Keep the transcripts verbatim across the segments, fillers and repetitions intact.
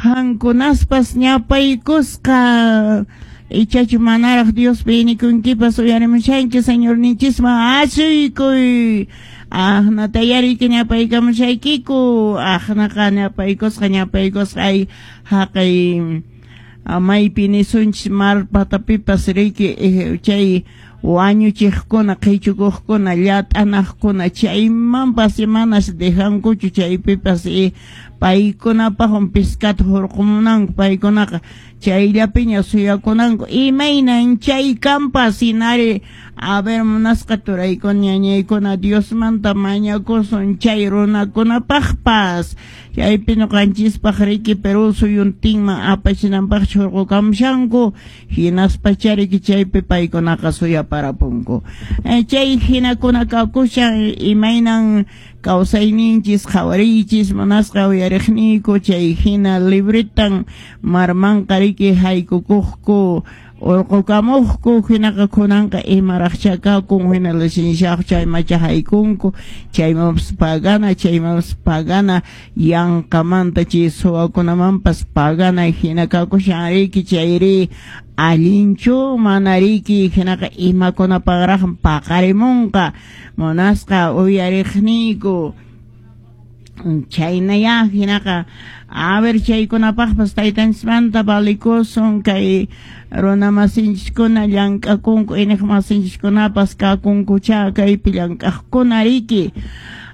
Qankunaspas ñapaykusqa ichachu manaraq Diospi inikunkipas uyarimushanki Señorninchisman asuykuy. Aqnata yariki ñapaykamushaykiku aqnaqa ñapaykusqa ñapaykusqa ay haqay maypi nisunchis mar patapipas riki chay wañuchiqkuna qhichukuqkuna llat'anaqkuna chaymanpas manas dejankuchu chaypipas paykunapaqwan pescata hurqumunanku paykunaqa chayllapiña suyakunanku imaynan chay kanpas hinari a ver munasqa turaykuna ñañaykuna Diosmanta mañakusun chay runakunapaqpas chaypi ñuqanchispaq riki Perú suyuntinman apachinanpaqchu hurqukamushanku hinaspacha riki chaypi paykunaqa suyaparapunku chay hinakuna kakushan imaynan kawsayninchis qhawariychis munasqa uyariqniyku chay hina libretan marmanqa riki haykukuqku urqukamuqku hinaqa kunanqa imaraqcha kakun hina licenciado chaymacha haykunku chaymanpas pagana chaymanpas pagana yanqamanta chay suwakunamanpas pagana hina kakushan riki chayri allinchu mana riki hinaqa imakunapaqraq paqarimunqa munasqa uyariqniyku chaynaya hinaqa a ver chaykunapaqpas taytanchismanta valikusun kay runa masinchiskuna llank'akunku iniq masinchiskunapas kakunkucha kaypi llank'aqkuna riki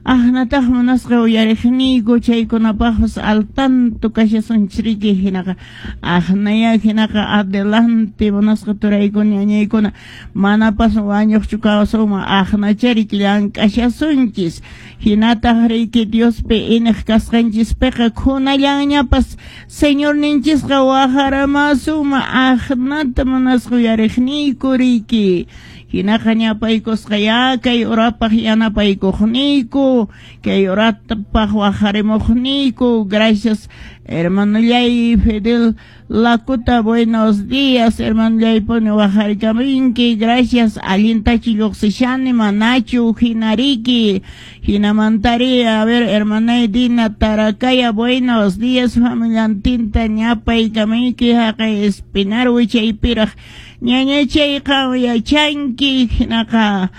aqnataq munasqa uyariqniyku chaykunapaqpas al tanto kashasunchis riki hinaqa aqnaya hinaqa adelante munasqa turaykuna ñañaykuna manapas wañuqchu kawsunman aqnacha riki llank'ashasunchis hinataq riki Diospi iniq kasqanchispiqa kunallanñapas Señorninchisqa wajaramasunman aqnata munasqa uyariqniyku riki hinaqa ñapaykusqa ya kay urapaq yanapaykuqniyku kay urapaq wajarimuqniyku gracias hermanollay Fidel Lakuta buenos días hermanollay puni wajarikaminki gracias allintachu lluqsishani manachu hinariki hinamantari a ver hermanay Dina Tarakaya buenos días familiantinta ñapaykaminki haqay Espinar wichaypiraq ñañachayqa yachanki hinaqa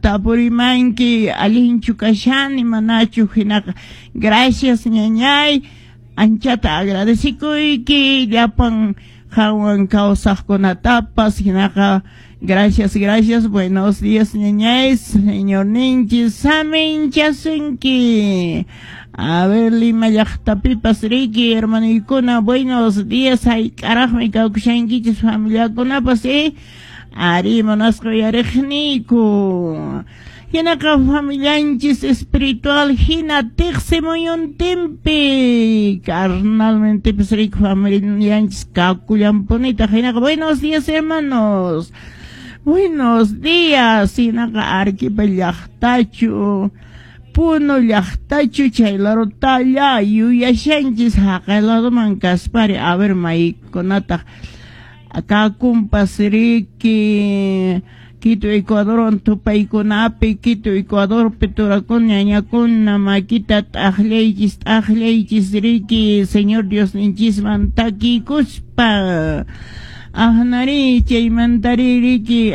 tapurimanki allinchu kashani manachu hinaqa gracias ñañay anchata agradecikuyki llapan qanwan kawsaqkunatapas hinaqa gracias gracias buenos días ñañay señorninchis saminchasunki a ver Lima llaqtapipas riki hermanoykuna buenos días hayk'araqmi kawkushankichis familiakunapas eh ari munasqa uyariqniyku hinaqa familianchis espiritual hina tiqsimuyuntinpi carnalmentepis riki familianchis kakullanpunitaq hinaqa buenos días hermanos buenos días hinaqa Arequipa llaqtachu Puno llaqtachu chay larutalla yuyashanchis haqay laduman kaspari a ver maykunataq kakunpas riki Quito Ecuador tupaykunapi Quito Ecuadorpi turakuna ñañakuna makita t'aqllaychis t'aqllaychis riki Señor Diosninchisman takikuspa aqnari chaymantari riki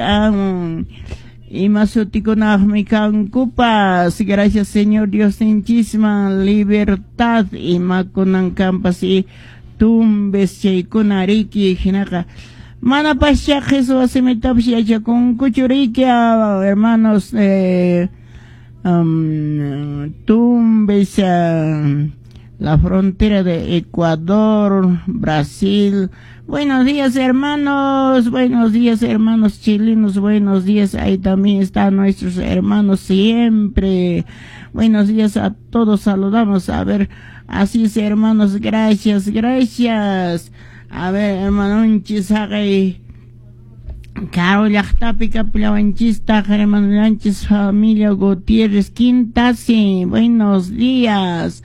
ima sutikunaqmi kankupas gracias Señor Diosninchisman libertad imakunan kanpas y Tumbes chaykuna riki hinaqa manapascha qhichwa simitapas yachakunkuchu riki hermanos eh, um, Tumbes uh, la frontera de Ecuador, Brasil. Buenos días hermanos, buenos días hermanos chilenos, buenos días, ahí también están nuestros hermanos siempre. Buenos días a todos, saludamos, a ver, así es hermanos, gracias, gracias. A ver, hermanonchis, haqay karu llaqtapi kapullawanchistaq hermanollanchis familia Gutiérrez Quintasi, buenos días.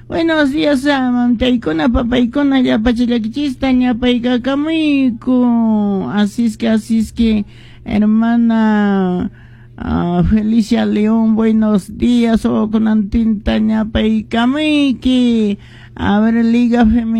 Buenos días, mamtaykuna, papaykuna, llapachallakichista, ñapaykakamuyku. Así es que, así es que, hermana uh, Felicia León, buenos días. O kunantinta ñapaykamuyki. A ver, Liga Femenina.